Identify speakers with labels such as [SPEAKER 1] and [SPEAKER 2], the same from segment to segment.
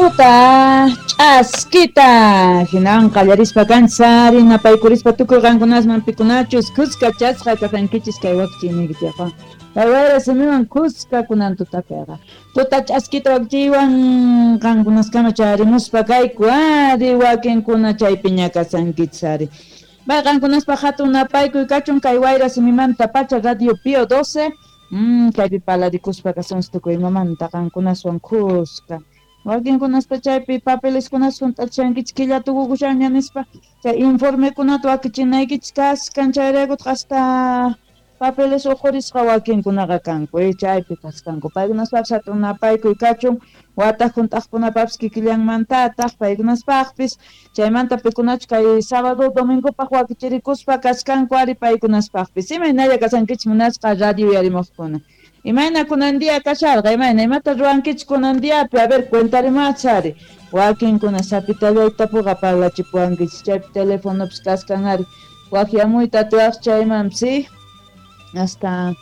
[SPEAKER 1] Tuta ch'askita hinan qallarispa kanchis ari napaykurispa tukuy qankunasman pikunachus kuskachasqa kasankichis kay wakichiyniykichikqa kay wayra simiwan kuska kunan tutapiqa tuta ch'askita wakichiywan qankunaskama chayarimuspa kayku ari wakinkuna chaypiña kasankichis ari. Bay qankunaspaq hatun napaykuy kachun kay wayra simimanta pacha Radio Pío 12 kaypi palarikuspa kasunchis tukuy imamanta qankunaswan kuska. Wakinkunaspa chaypi papeleskunata hunt'achishankichis killa tukukushanña nispa chay informekunata wakichinaykichis kaskan chayraykutaq hasta papeles uqhurisqa wakinkunaqa kanku chaypi kaskanku paykunaspapis hatun napaykuy kachun wataq hunt'aqkunapapis kikillanmantataq paykunaspaqpis chaymanta pikunachu kay sábado domingopaq wakichirikuspa kaskanku ari paykunaspaqpis imaynalla kasankichis munasqa radio uyarimuqkuna. Imayna kunan día kasharqa imayna imata ruwankichis kunan diapi a ver cuentarimachis ari wakinkuna sapitallaytapuqa parlachipuwankichis chaypi telefonopis kaskan ari waqyamuyta atiwaq chaymanpis hasta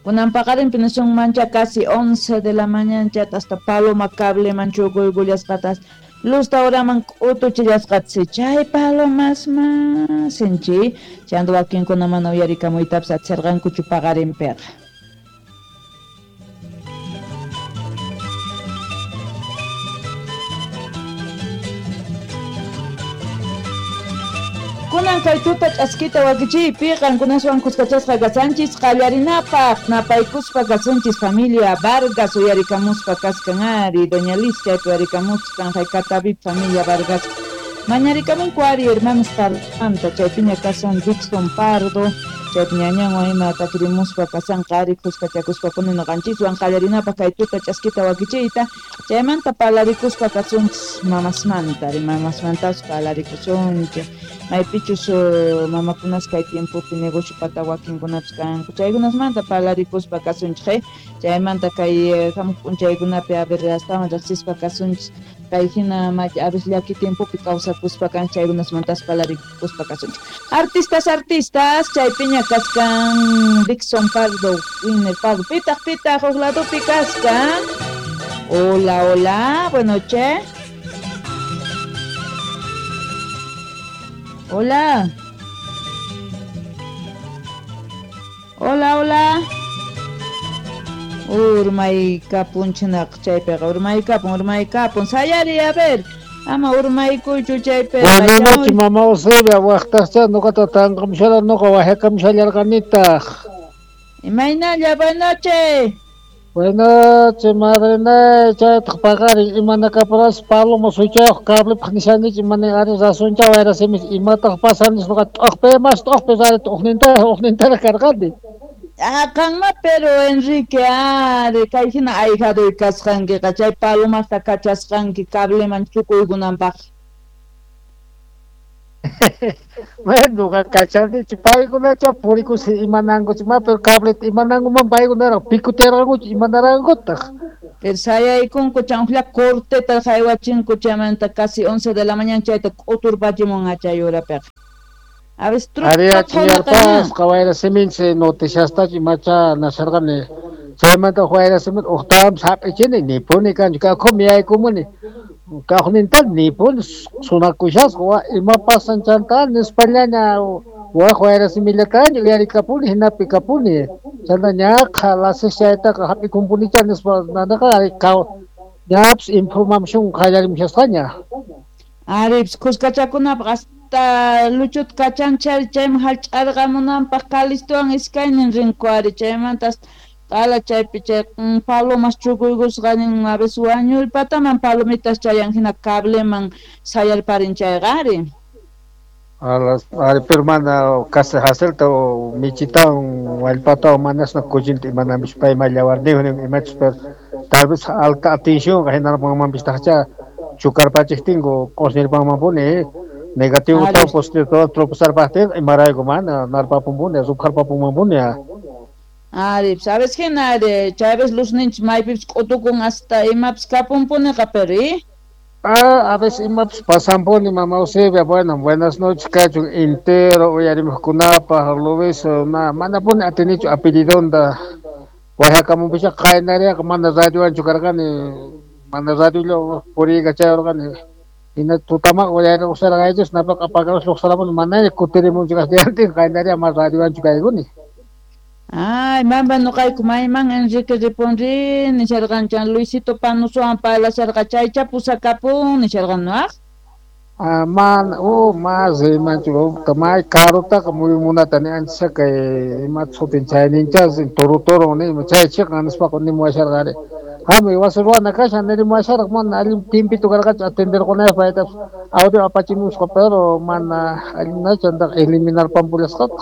[SPEAKER 1] kunan paqarinpi nisunmancha casi 11 de la mañana chata hasta paloma cableman chukuykullasqatas luz uraman k'utuchillasqatasi chay palomasman sinchi chayanta wakinkuna mana uyarikamuytapis atisharqankuchu paqarinpiqa. Kunan kay tuta ch'askita wakichiypi qankunaswan kuskachasqa kasanchis qallarinapaq napaykuspa kasunchis familia Vargas uyarikamuspa kaskan ari doña Liz chaypi uyarikamuskan haykatavip familia Vargas mañarikamunku ari hermanos Pardomanta chaypiña kasan Dixon Pardo chaypi ñañanwan ima takirimuspa kasanqa ari kuskachakuspapuni ñuqanchiswan qallarinapaq kay tuta ch'askita wakichiyta chaymanta palarikuspa kasunchis mamasmanta ari mamasmantapas palarikusunchik maypichus mamakunas kay tiempopi negocio pata wakinkunapis kanku chaykunasmanta palarikuspa kasunchik chaymanta kay hamuq p'unchaykunapi a ver astawan riqsispa kasunchis kay hina a veces llaki tiempopi kawsakuspa kan chaykunasmantas palarikuspa kasunchik. Artistas artistas chaypiña kaskan Dixon Pardo Winner Pardo pitaq pitaq huk ladopi kaskan. Hola hola, buenas noches. Hola. Hola, hola. Urmaykapunchinaq chaypiqa urmaykapun sayari a ver. Ama urmaykuychu chaypiqa.
[SPEAKER 2] Buenas noches, mamá Eusebia, waqtascha ñuqata tanqamshala ñuqa waqyakamshallarqanitaq.
[SPEAKER 1] Imaynalla, buenas noches.
[SPEAKER 2] Buenas noches, madre chaytaq paqarin imanakapuras paloma suychayuq cablepaq nishankichik imani ari razoncha wayrasimis imataq pasanis ñuqa t'uqpi mas t'uqpi rari t'uqnintaraq karqani.
[SPEAKER 1] Ah, qanma pero Enrique ari kay hina ayhaduy kasqankiqa chay palomasta kachasqanki cableman chukuykunanpaq.
[SPEAKER 2] Bueno, kachanichi paykunacha purikusi imanankuchi ma pero cableta imanankuman paykunaraq picotearqankuchu imanarankutaq.
[SPEAKER 1] Pero sayaykunku chanqlla corteta haywachinku chaymanta casi 11 de la mañana chayta k'uturpachimun chay urapiqa. A veces
[SPEAKER 2] Ariachiyarpasqa wayra siminsi noticiastachu imacha nasharqani chaymanta wayra simin uqtawanpas hap'ichini nipuni kanchu kaqhumi yaykumuni kaqninta nipuni sunakushasqa wa ima pasan chanta nispallaña waq wayra simillataña uyarikapuni hinapi kapuni chanta ñaqa lasis chaytaqa hap'ikunpunicha nispa nanaqa ñapis información qallarimushasqaña.
[SPEAKER 1] Aripis kuskachakunapaq hasta luchut kachanchari chayman hallch'arqamunanpaq Calistowan iskaynin rinku ari chaymanta q'ala chaypi chay palomas chukuykusqa nin a veces wañuypataman palomitas chayan hina cableman sayarparin chayqa ari.
[SPEAKER 2] Ari pero mana casi haselta michitawan wallpatawan manasna kuchinta imananpis payma llawarniyuq imachus pero tal vez alta atención hinarpanmanpis taqcha chukarpachiqtinku q'usñirpanmanpuni negativo
[SPEAKER 1] Ari.
[SPEAKER 2] todo positivo todo tropezarpaqtin imarayku mana narpapunpuni rupharpapunmanpuni.
[SPEAKER 1] Ari, sabes hina ari chaypis luzninchis maypipis k'utukun hasta imapis kapunpuniqa pero
[SPEAKER 2] Ah, a veces imapis pasanpuni mamá Eusebia, bueno, buenas noches kachun entero uyarimuqkunapaq Luis na manapuni atinichu apellidonta waqyakamunpisha qaynariyaqa mana radiowanchu karqani Mana radio puriykachayurqani. Hina tutaman uyarirqusarqaychis napaqa apakamus lluqsaramun mana kutirimunchu kasqantin qaynaria ma radiowanchu kaykuni.
[SPEAKER 1] Ay, mamba nuqayku mayman Enrique ripunri nisharqanchan Luisito Panusowan parlasharqa chaycha pusakapun nisharqan nuaq.
[SPEAKER 2] Ah, man, mas rimanchu may karutaqa muyumunata ni ancha kay imata sutin chayninchas toro toro ni chay chiqan nispaqa nimuwasharqari. Hamuy wasi ruwana kashan nirimuwasharqa mana allin tiempito karqachu atenderqunaypaq paytapas audio apachimusqa pero mana allinachu antaqa eliminar pampullasqataq.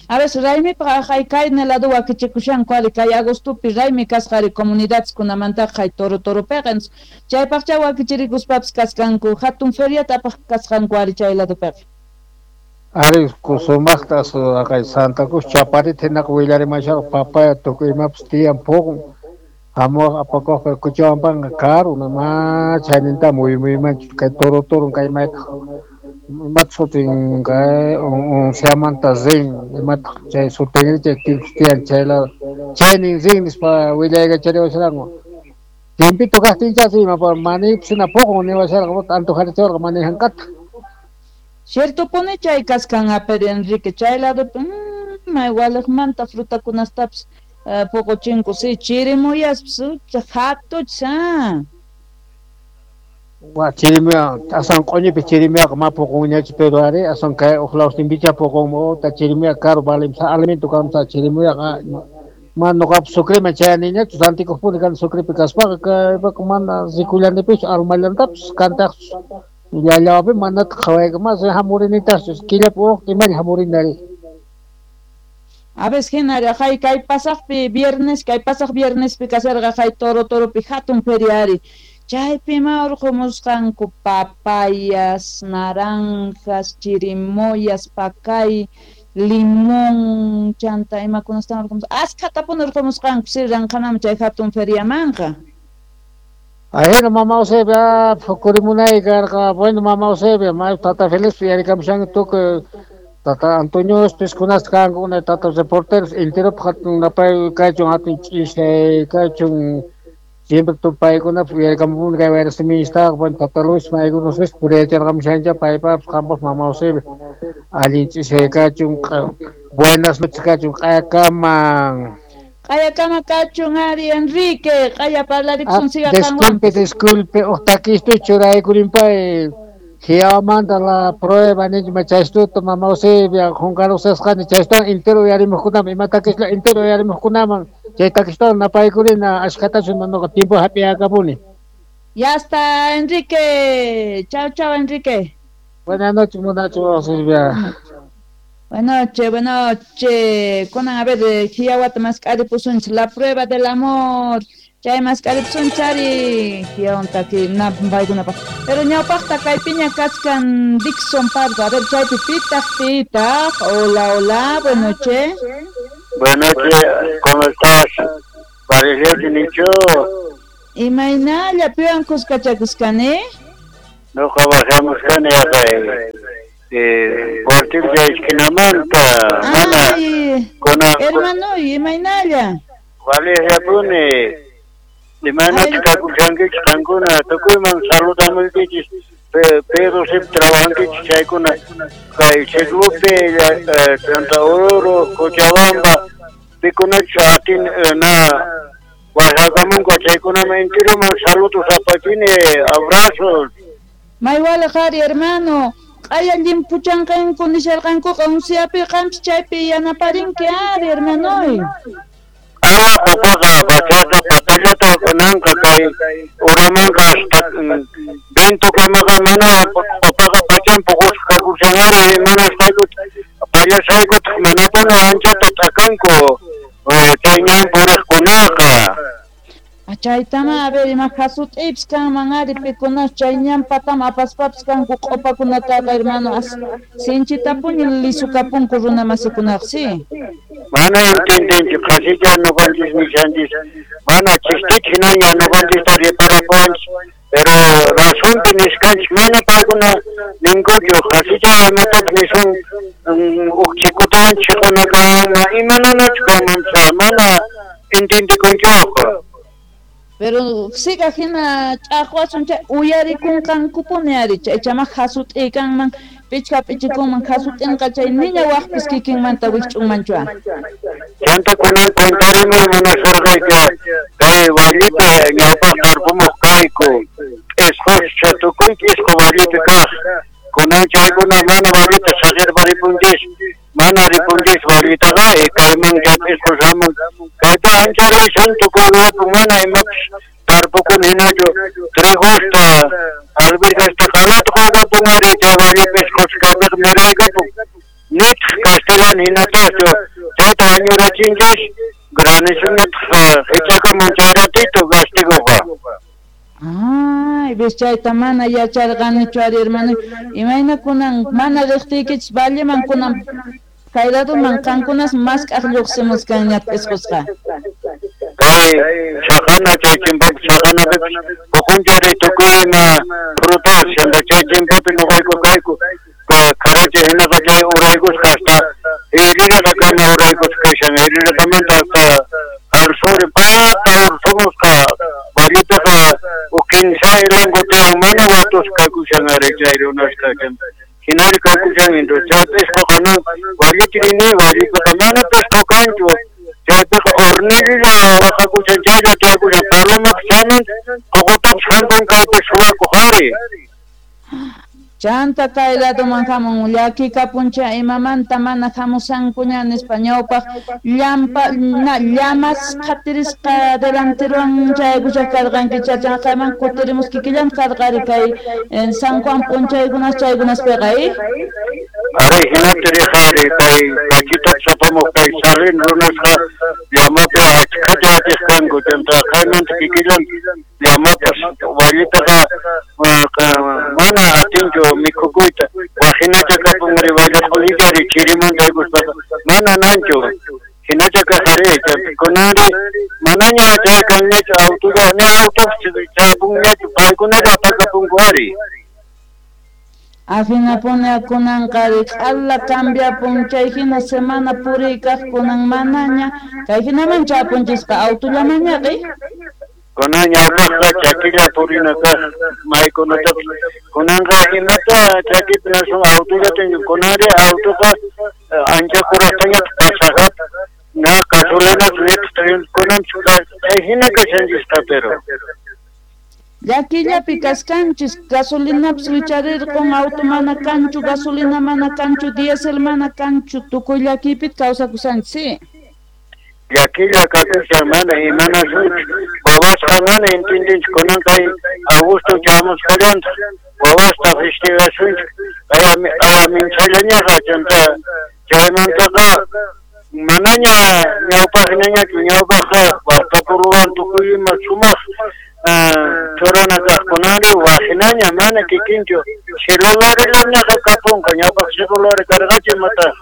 [SPEAKER 1] A veces raymipaq hay kay lado wakichikushanku ari kay agostopi raymi kasqa ari comunidadkunamantaqa hay toro toropiqa chaypaqcha wakichirikuspapas kasqanku hatun feriata apaq kasqanku ari chay ladopiqa.
[SPEAKER 2] Ari sumaqta kay Santa Cruz Chaparita hinaqa willarimasharqa papaya tukuy imapas tiyan puqun hamuq apakuqqa Cochabambaqa karu ma chayninta muyumuymanchu kay toro toron kay maytaq imata sutin kay unciamanta rin imataq chay sutinri chay tiyan chay lado chaynin rin nispa willaykachariwasharqanku tiempito kaqtinchas ima manipis hina puqun niwasharqa antojarichawarqa manijanqata.
[SPEAKER 1] Cierto pone chay kaskan pero Enrique chay lado may waliqmanta frutakunastapas puquchinku si chirimuyaspas hatucha.
[SPEAKER 2] Wa chirimuya asan q'uñipi chirimuyaqa ma puqunñachu pero ari asan kay uq lawstinpicha puqun ta chirimuya karu valimsa alimento kamsa chirimuyaqa ma nuqapas Sucreman chayaniñachu rantikuqpuni kani Sucrepi kaspaqa kaypaqa mana rikullanipischu almallantapas kantaqchu llallawapi manataq qhawayka mas hamurinitaqchu killapi uq imalla hamurinari.
[SPEAKER 1] A veces hinari hay kay pasaqpi viernes kay pasaq viernespi kasharqa hay toro toropi hatun feria ari chaypi ma urqumusqanku papayas, naranjas, chirimoyas, pacay, limón, chanta imakunastan urqumusqa askhatapuni urqumusqanku si ranqanaman chay hatun feriamanqa.
[SPEAKER 2] Ahina mama Eusebia pukurimunay karqa bueno mama Eusebia may tata Félix yarikamushanki tukuy tata Antonio piskunasta kanku unay tata reporteros enteropaq hatun napay kachun hatun ch'ishay kachun siempre paykunapas uyarikamupuni kay wayra simistaqa bueno tata Luis maykunas puriyacharqamushancha paypapas qampas mama Eusebia allin ch'ishay kachun buenas noches kachun q'ayakaman.
[SPEAKER 1] Q'ayakama kachun ari Enrique q'aya parlarikusun siga qanwan.
[SPEAKER 2] Disculpe, disculpe, uq takistu churaykurinpay Giamanta la prueba nichma chaystuta mama Eusebia qunqarusasqani chaystuwan entero uyarimuqkunaman ima takisla entero uyarimuqkunaman chay takistuwan napaykurina ashkhatachu nuqa tiempo hap'iyakapuni.
[SPEAKER 1] Ya está Enrique, chao chao Enrique.
[SPEAKER 2] Buenas noches, munachu Eusebia.
[SPEAKER 1] Buenas noches, buenas noches. Conan, a ver, Giawata mask'aripusunchis la prueba del amor. Chay mask'aripusunchari Giawan taki napaykunapaq. Pero ñawpaqta kaypiña kachkan Dixon Pardo. A ver, chaypi pitaq pitaq. Hola, hola, buenas noches.
[SPEAKER 3] Buenas noches, ¿cómo estás? Parece nicho.
[SPEAKER 1] Imaynalla piwan kuskachakuskani?
[SPEAKER 3] Nuqa bajamuskani yaqay. Portillo esquinamanta, mana
[SPEAKER 1] kuna hermano, imaynalla.
[SPEAKER 3] Valiapuni. Imaynata kakushankichis qankuna tukuyman saludamuykichis Pedro siempre trabajankichis chaykuna kay Chiglupi, Santa Oruro, Cochabamba, pikunachus atin na wasakamunku chaykunaman enteroman saludos apachini, abrazos.
[SPEAKER 1] Maywala qhari hermano. Q'aya llimpuchanqanku nisharqankuqa unciapi qampi chaypi yanaparinki ari hermanoy.
[SPEAKER 3] Ah, papaqa pachata patallata kunanqa kay uramanqa hasta vientokamaqa mana papaqa pachan puqusqa kakushanari mana pallasaykutaq manapuni anchata t'akanku chay ñan puriqkunaqa.
[SPEAKER 1] Chaytama a ver ima hasut'ipis kanman ari pikunas chay ñanpatama apaspapis kanku q'upakunataqa hermano sinchitapuni lisukapunku runa masikunaqa si.
[SPEAKER 3] Mana entendinchu qhasicha ñuqanchis nishanchis mana chistich hinaña ñuqanchista riparapuwanchis pero razonpi nisqanchis mana paykuna ninkuchu qhasicha imatapis nisun uq chikutawan chiqunakama imananachu kanman mana entendikunchuqa.
[SPEAKER 1] Pero siga hina ch'aqwasun chay uyarikunqankupuni ari chay chama hasut'ikanman pichqa p'ichikunman hasut'inqa chay niña waqpis kikinmanta wikch'unmanchu.
[SPEAKER 3] Chanta kunan cuentarimuy munasharqayki kay wallipi ñawpaq tarpumuq kayku p'isquscha tukuy p'isqu wallipi kaq kunan chaykuna mana wallita saqirparipunchis mana ripunchis wallitaqa kayman chay p'isqu hamun kayta ancha riysan tukuy ruwapun mana imapis tarpukun hinachu trigosta albergasta qalata quykapun ari chay walli p'isqus kaypiqa miraykapun nitaq castellano hinatachu chayta añurachinchis granisuñataq hichakamun chay ratito gastiguqa.
[SPEAKER 1] Ay, ves chayta mana yacharqanichu ari hermano. Imayna kunan mana riqtiykichis valleman kunan kay ladoman qankunas mask'aq lluqsimuskanña p'isqusqa.
[SPEAKER 3] Kay chaqana chay chimpapi chaqanapipis puqunchari tukuy ima frutas chanta chay chimpapi ñuqayku kayku karacha hinaqa chay uraykusqa hasta Iriraqakama uraykusqa kashan Iriraqamanta hasta al sur pata ursumusqa vallipiqa huk kinsa ilanku tiyan mana watusqa kakushan ari chay runasqa hinari kakushan entonces chay p'isquqa nan wallita rini wallipiqa mana p'isqu kanchu chaypiqa hornilla waqakushan chaylla tiyakushan palomapis chaman ququtapis hampun kaypi suwakuq ari.
[SPEAKER 1] Chanta kay ladoman hamun llakikapuncha imamanta mana hamusankuña nispa ñawpaq llampa na llamas qhatirisqa delanterowan chaykushaq karqanki chachaqayman kutirimus kikillan karqari kay San Juan p'unchaykunas chaykunaspiqa
[SPEAKER 3] Ari hinata riqari kay kachitapis apamuq kay Salin runasqa llamapi achkhata atiq kanku chanta qaymanta kikillan llamapas wallitaqa mana atinchu mikhukuyta waqhinacha kapunri walla q'ulichari chirimanta haykuspaqa mana nanchu hinacha kaqari kunanri manaña chay kanñachu autolla ni autopis chayapunñachu paykunalla apakapunku ari.
[SPEAKER 1] Ahinapuni kunanqa q'ala cambiapun chay hina semana puriykaq kunan manaña kay hinaman chapunchisqa autollamañaqi.
[SPEAKER 3] Kunan ñawpaqqa chakilla purina kaq maykunatapis kunanqa imata chakipi nasun autollata kunanri autoqa ancha kuraqtañataq pasajata na gasolinata nitaq kunanpis chay hina kashanchisqa pero.
[SPEAKER 1] Llakillapi kaskanchis gasolinapis wicharirqun auto mana kanchu gasolina mana kanchu diésel mana kanchu tukuy llakipit kawsakushanchis.
[SPEAKER 3] Llakilla kakushan mana imanasunchu wawasqa mana entendinchu kunan kay Augusto chamusqallantaq wawasta festejasunchik ayaminchallañaqa chanta chaymantaqa manaña ñawpaqñañachu ñawpaqqa waqtapuruwan tukuy ima sumaq churana kaqkunari waqhinaña mana kikinchu celularillañaqa kapunqa ñawpaq celular karqachu imataq.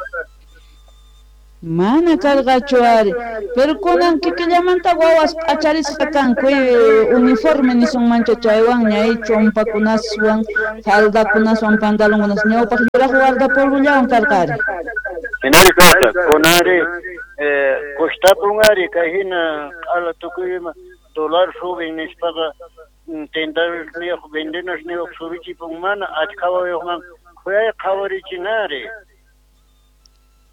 [SPEAKER 1] Mana karqachu ari pero kunan kikillamanta wawas p'acharisqa kanku uniforme nisunmancha chaywanña chumpakunaswan faldakunaswan pantalonkunas ñawpaq yuraq guardapolvollawan karqari.
[SPEAKER 3] Hinari karqa kunanri costapun ari kay hina q'ala tukuy ima dólar subin nispaqa tentasniyuq vendenasniyuq subichipun mana achka wawayuqman khuyay qhawarichinari.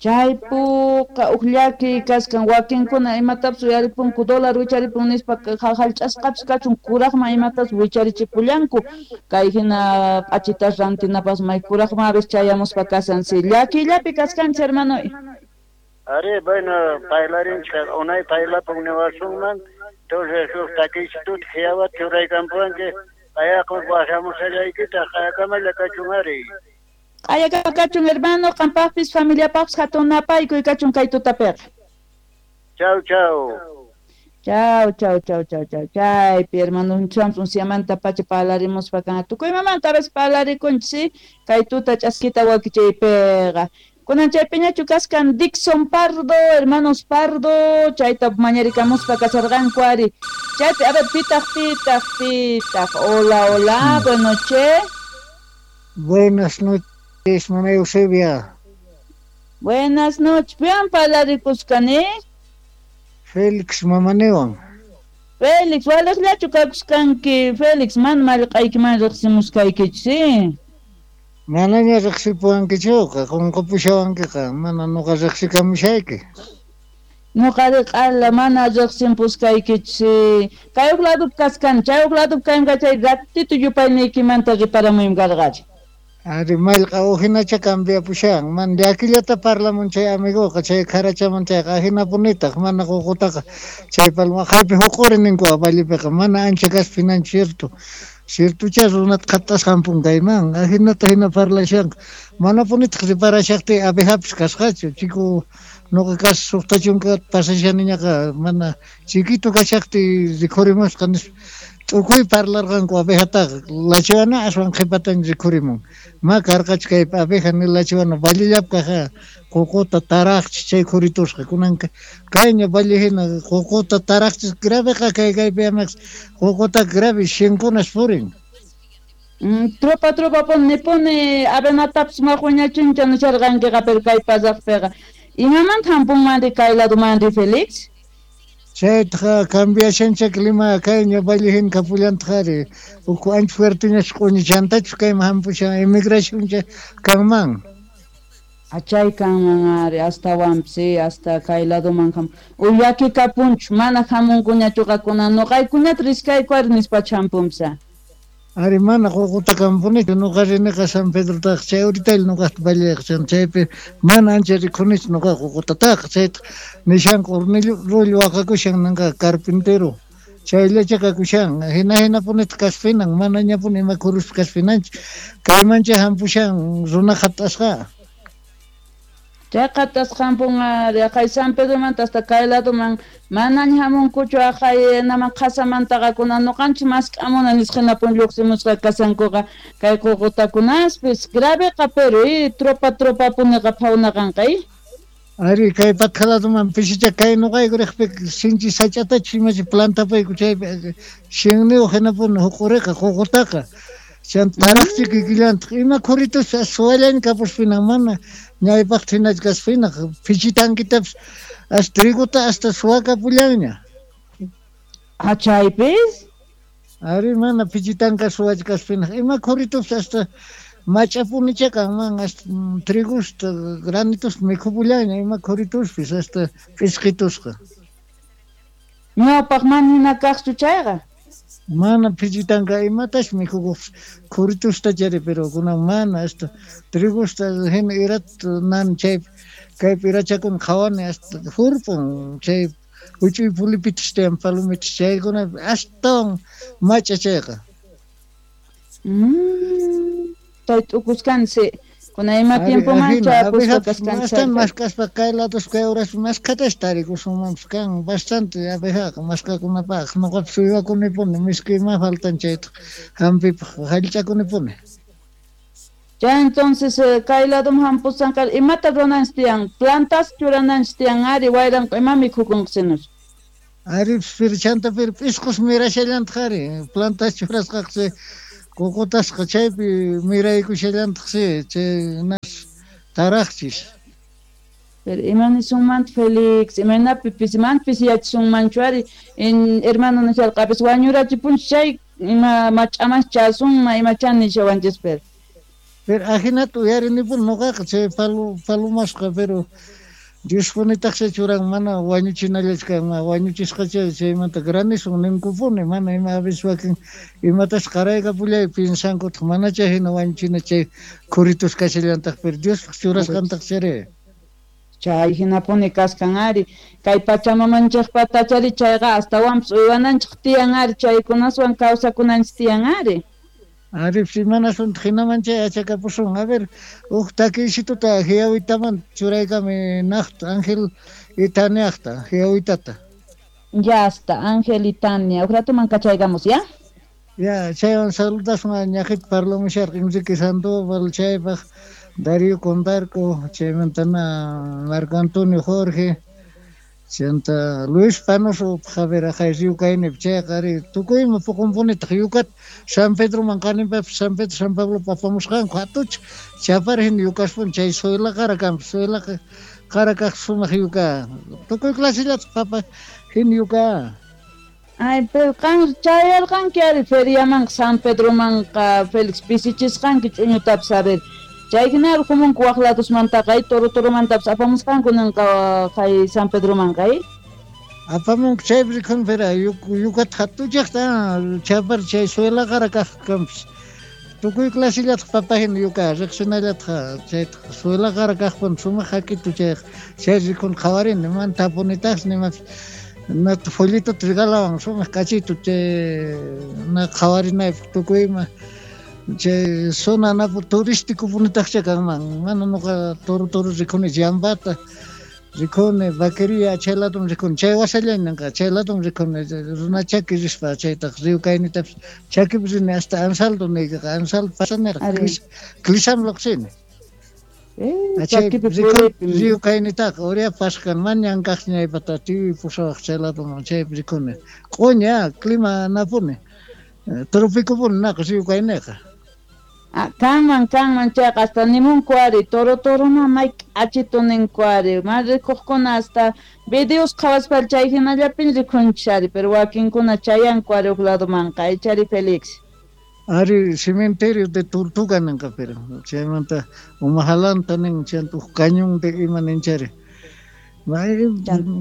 [SPEAKER 1] Chaypuqa huk llaki kaskan wakinkuna imatapis uyaripunku dólar wicharipun nispa hallch'asqapis kachun kuraqman imatapis wicharichipullanku kay hina p'achitas rantinapas may kuraqman a veces chayamuspa kasan si llakillapi kaskanchis hermano.
[SPEAKER 3] Ari bueno bailarinchik unay bailapun niwasunman entonces huk takichituta qhiyawata churaykampuwanki qhayaqa waqhamushallaykitaq qhayakamalla kachun ari.
[SPEAKER 1] Q'ayakama kachun hermano qampaqpis familiapaqpis hatun napaykuy kachun kay tutapiqa.
[SPEAKER 3] Chau chau.
[SPEAKER 1] Chau chau chau chau chau chaypi hermano unsiamanta pacha parlarimuspa kan tukuy imamanta a veces parlarikunchis kay tuta ch'askita wakichaypiqa. Kunan chaypiñachu kaskan Dixon Pardo, hermanos Pardo, chayta mañarikamuspa kasarqanku ari. Chaypi, a ver, pitaq, pitaq, pitaq. Hola, hola, buenas noches.
[SPEAKER 2] Buenas noches, mamá Eusebia.
[SPEAKER 1] Buenas noches. Piwan parlarikusqani?
[SPEAKER 2] Félix mamanewan.
[SPEAKER 1] Félix, waliqllachu kakusqanki Félix, mana mallq'aykiman riqsimuskaykichu, sí?
[SPEAKER 4] Manaña riqsipuwankichuqa, qunqapushawankiqa, mana nuqa riqsikamushayki.
[SPEAKER 1] Nuqari q'ala mana riqsimpuskaykichu, sí. Kay huk ladupi kaskan, chay huk ladupi kaymi chay ratito yupayniykimanta riparamuymi karqachi.
[SPEAKER 4] Ari mallq'a uhinacha cambiapushan, mana llakillata parlamun chay amiguqa, chay kharachaman chayqa ahinapunitaq, mana ququtaqa chay palma haypi huquri ninku vallepiqa, mana ancha kaspa hinanchu cierto. Ciertocha runata qhatasqanpun kayman, ahinata hina parlashanqa, manapunitaq riparashaqtiy abejapis kasqachu, chiku nuqa kas 60 pasashaniñaqa mana chiquito kashaqtiy rikhurimusqa nispa tukuy parlarqanku abejataqa, lachiwana aswan qhipatan rikhurimun. Ma karqachu kaypi abeja ni lachiwana vallellapi kajqa ququta taraqchis chay khuritusqa, kunanqa kayña valle hina ququta taraqchis graveqa kay kaypi amaqs ququta grave shinkunas purin.
[SPEAKER 1] Tropa tropa pone pone avenatapis majuñachincha nisharqankiqa pero kay pasaqpiqa. Imamanta hampunmanri kay ladumanri Félix?
[SPEAKER 4] Chaytaqa cambiashancha clima kayña valle hina kapullantaq ari, ukhu ancha fuerteñas q'uñichantachus kayman hampushan emigracioncha kanman.
[SPEAKER 1] Chay kanman ari astawanpis hasta kay laduman ham. Uyaki kapunchu mana hamunkuñachuqa kunan nuqaykuñata riskayku ari nispachu hampunpisa.
[SPEAKER 4] Ari mana ququta kampunichu, nuqa riniqa San Pedrotaqa chay uritaylla nuqaqta valleqa chaypi mana ancha rikhunichu nuqa ququtataqa, chayta nishanqa hornillo rollo waqakushan ninqa carpintero, chayllacha kakushan, hina hinapunitaq kaspinan, mana ñapuni ima khuruspa kaspinanchu, kaymancha hampushan runa qhatasqa.
[SPEAKER 1] Chay qhatasqa hampun ari, aqhay San Pedromanta hasta kay laduman manaña hamunkuchu aqhay naman qhasamantaqa kunan nuqanchis mask'amuna nisqa hinapun lluqsimusqa kasankuqa kay ququtakunaspis graveqa pero tropa tropa puniqa phawnaqanqa.
[SPEAKER 4] Ari kay patqa laduman pisicha kay nuqayku riqpi sinchi sach'atachu imachi plantapayku chaypi shinniyuq hinapuni huq'uriqa ququtaqa. Chanta taraqchi kikillantaq ima khuritus suwallaña kapuspinan mana ñaypaqta hinachu kaspinaq phichitankitapis as trigota hasta suwakapullanña.
[SPEAKER 1] Chaypis?
[SPEAKER 4] Ari mana phichitanka suwachu kaspinaq ima khurituspis hasta mach'apunicha kanman hasta trigusta granitusta mikhupullanña ima khurituspis hasta p'isqitusqa.
[SPEAKER 1] Ñawpaq mana hina kaqchu chayqa?
[SPEAKER 4] Mana phichitanka imatash mikhukuqpis khuritusta chari pero kunan mana hasta trigusta hina irat nan chay kaypi irachakuna qhawani hasta hurpun chay huch'uy pulipitas tiyan palomitas chaykuna astawan mach'a chayqa.
[SPEAKER 1] Chay t'ukuskansi kuna ima tiempoman chayapusqa kaskansi.
[SPEAKER 4] Astan maskaspa kay lados kay horas maskhatash tarikusunmanpis kan bastante abejaqa maskakunapaq nuqapis uywakunipuni miski ima faltan chayta hampipaq hallch'akunipuni.
[SPEAKER 1] Ya entonces kay ladum hampusanqa imata rurananchis tiyan plantas churananchis tiyan ari wayranqa ima mikhukunqsinus.
[SPEAKER 4] Ari pero chanta pero p'isqus mirashallantaq ari plantas churasqaqsi ququtasqa chaypi miraykushallantaqsi chay nas taraqchis.
[SPEAKER 1] Pero ima nisunmanta Félix, imaynapi pisimanpis yachasunmanchu ari hermano nisharqapis wañurachipunchis chay ima mach'amas chasunma imachá nishawanchis pero.
[SPEAKER 4] Pero ahinata uyarinipuni nuqaqa chay palomasqa pero Diospunitaqsi churan mana wañuchinallachu kanman, wañuchisqacha chaymanta granizo ninkupuni mana ima a veces wakin imatas qaraykapullay piensankutaq manacha hina wañuchina chay khuritus kashallantaq pero Diospaq churasqantaq chari.
[SPEAKER 1] Chay hinapuni kaskan ari kay pachamamanchikpata chari chayqa astawanpis uywananchik tiyan ari chaykunaswan kawsakunanchik tiyan ari.
[SPEAKER 4] Ari imanasunta hinaman chay achakapusun. A ver, huk takiysituta hiyawitaman churaykami naqta Ángel y Taniaqta, hiyawitata.
[SPEAKER 1] Ya está, Ángel y Tania. Huk ratuman kachaykamos, ¿ya?
[SPEAKER 4] Ya, chaywan saludasun ñaqita parlamusharqa Enrique Sandoval chaypaq Darío Condarco, chaymantana Marco Antonio Jorge, chanta Luis Panoso Javier aqhay Río kaynipi chayqa ari tukuyma puqunpunitaq yukat San Pedroman qaninpapis San Pedro San Pablo apamusqanku hatucha chapar hina yukaspuni chay suyla qara kanpis suyla qara kaq sumaq yuka tukuy clasillata papa hina yuka.
[SPEAKER 1] Ay, pero qan chayarqanki ari feriamanqa San Pedromanqa Félix pisichisqanki ch'uñutapas a ver. Chay hina rujumunku waq ladosmantaqa ay Toro Toromantapas apamusqanku ninqa hay San Pedromanqa ay.
[SPEAKER 4] Apamunku chaypi rikhun pero yukata hatuchaqta chapar chay suelaqara kaq kanpis. Tukuy clasillataq papahina yuka riqsinallataq chaytaq suelaqara kaqpun sumaq hakitu chayqa chay rikhun qhawarini mana tapunitaqsi nimapis nata folletota regalawan sumaq k'achitu chay na qhawarinaypaq tukuy ima chay zona napu turístico punitaqcha kanman mana nuqa Toro Toro rikhuni llambata rikhuni vaquería chay ladum rikhuni chay wasallan ninqa chay ladum rikhuni runa chaki rispa chaytaq río kaynitapis chakipi rini hasta Ansaldo niykiqa Ansaldo pasanirqa Clisam lluqsini. Río kaynitaqa uria pasqan mañan kaq ñaypata tiyuy pusawaq chay laduman chaypi rikhuni q'uña clima napuni tropicopuni naqa río kayniqa.
[SPEAKER 1] Ah, kanman kanman chayqa hasta nimunku ari Toro Toroma may k'achitu ninku ari ma rikuqkuna hasta videos qhawaspa chay hinallapin rikhunchis ari pero wakinkuna chayanku ari huk ladumanqa ichari Félix.
[SPEAKER 4] Ari cementerio de Tortuga ninqa pero chaymanta umajalanta nin chayanta huk cañón de ima ninchari.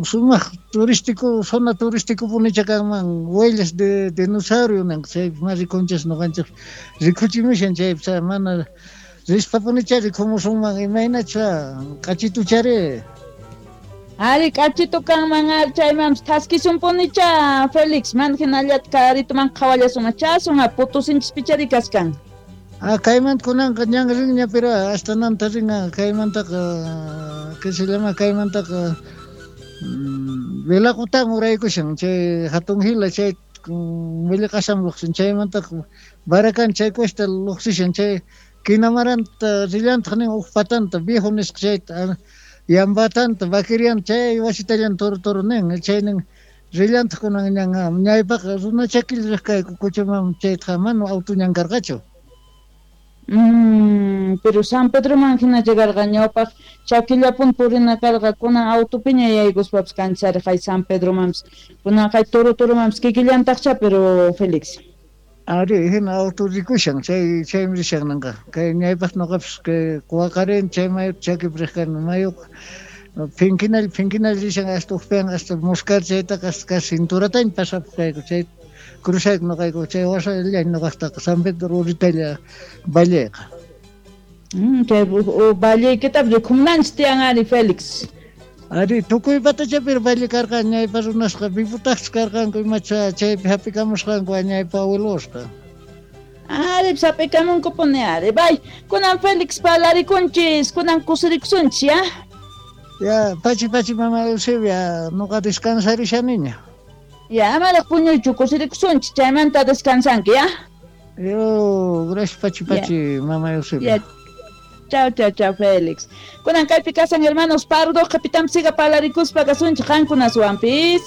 [SPEAKER 4] Sumaq turístico zona turístico punicha kanman huellas de dinosaurio ninqa chaypi ma rikunchis nuqanchik rikuchimushan chaypi mana rispa punicha rikumusunman imaynacha k'achituchari.
[SPEAKER 1] Ari k'achitu kanman ari chaymanpis thaskisun punicha Félix mana hinallata karituman qhawallasun chasun Potosinchispichari kaskan.
[SPEAKER 4] Ah, kaymanta kunanqa ñan rinña pero hasta nanta rinqa kaymantaqa que se llama kaymantaqa Velaqutan uraykushan chay hatun hila chay Millaqasam lluqsin chaymantaqa Barakan chay cuesta lluqsishan chay Quinamaranta rillantaq nin huk patanta viejo nisqa chayta yambatanta vaquerianta chay wasitallan Toro Toro nin chay nin rillantaq kunan ñan ñaypaqa runa chakilla riq kayku kuchaman chaytaqa mana auto ñan karqachu.
[SPEAKER 1] Pero San Pedroman hina llegarqa ñawpaq chakillapun purina karqa kunan autopiña yaykuspapas kanchari hay San Pedromanpis kunan hay Toro Toromanpis kikillantaqcha pero Félix.
[SPEAKER 4] Ari hina auto rikushan chay chaymi rishan ninqa kay ñaypaq nuqapis kay quwaqarin chay mayuta chakipi riq kani mayuqa phinkinalla phinkinalla rishan hasta uqpian hasta Muscar chaytaqa hasta casi cinturataña pasapuq kayku chay cruzayku nuqayku chay wasalla nuqaqtaqa San Pedro uritalla valleqa.
[SPEAKER 1] Chay valleykitapas rikhumunanchis tiyan ari Félix.
[SPEAKER 4] Ari tukuy patachapi valle karqan ñaypa runasqa vivutaqchus karqanku imacha chaypi hap'ikamusqanku ñaypa abuelosqa.
[SPEAKER 1] Ari hap'ikamunkupuni ari bay kunan Félix parlarikunchis kunan kusirikusunchis ya.
[SPEAKER 4] Ya pachi pachi mama Eusebia nuqa descansarishaniña.
[SPEAKER 1] Ya, amaraq puñuychu kusirikusunchis chaymanta descansanki, ya.
[SPEAKER 4] Yo, gracias pachi pachi mama Eusebia.
[SPEAKER 1] Ya. Chao, chao, chao, Félix. Kunan kaypi kasan hermanos Pardo, kapitan siga parlarikuspa kasunchik qankunaswanpis.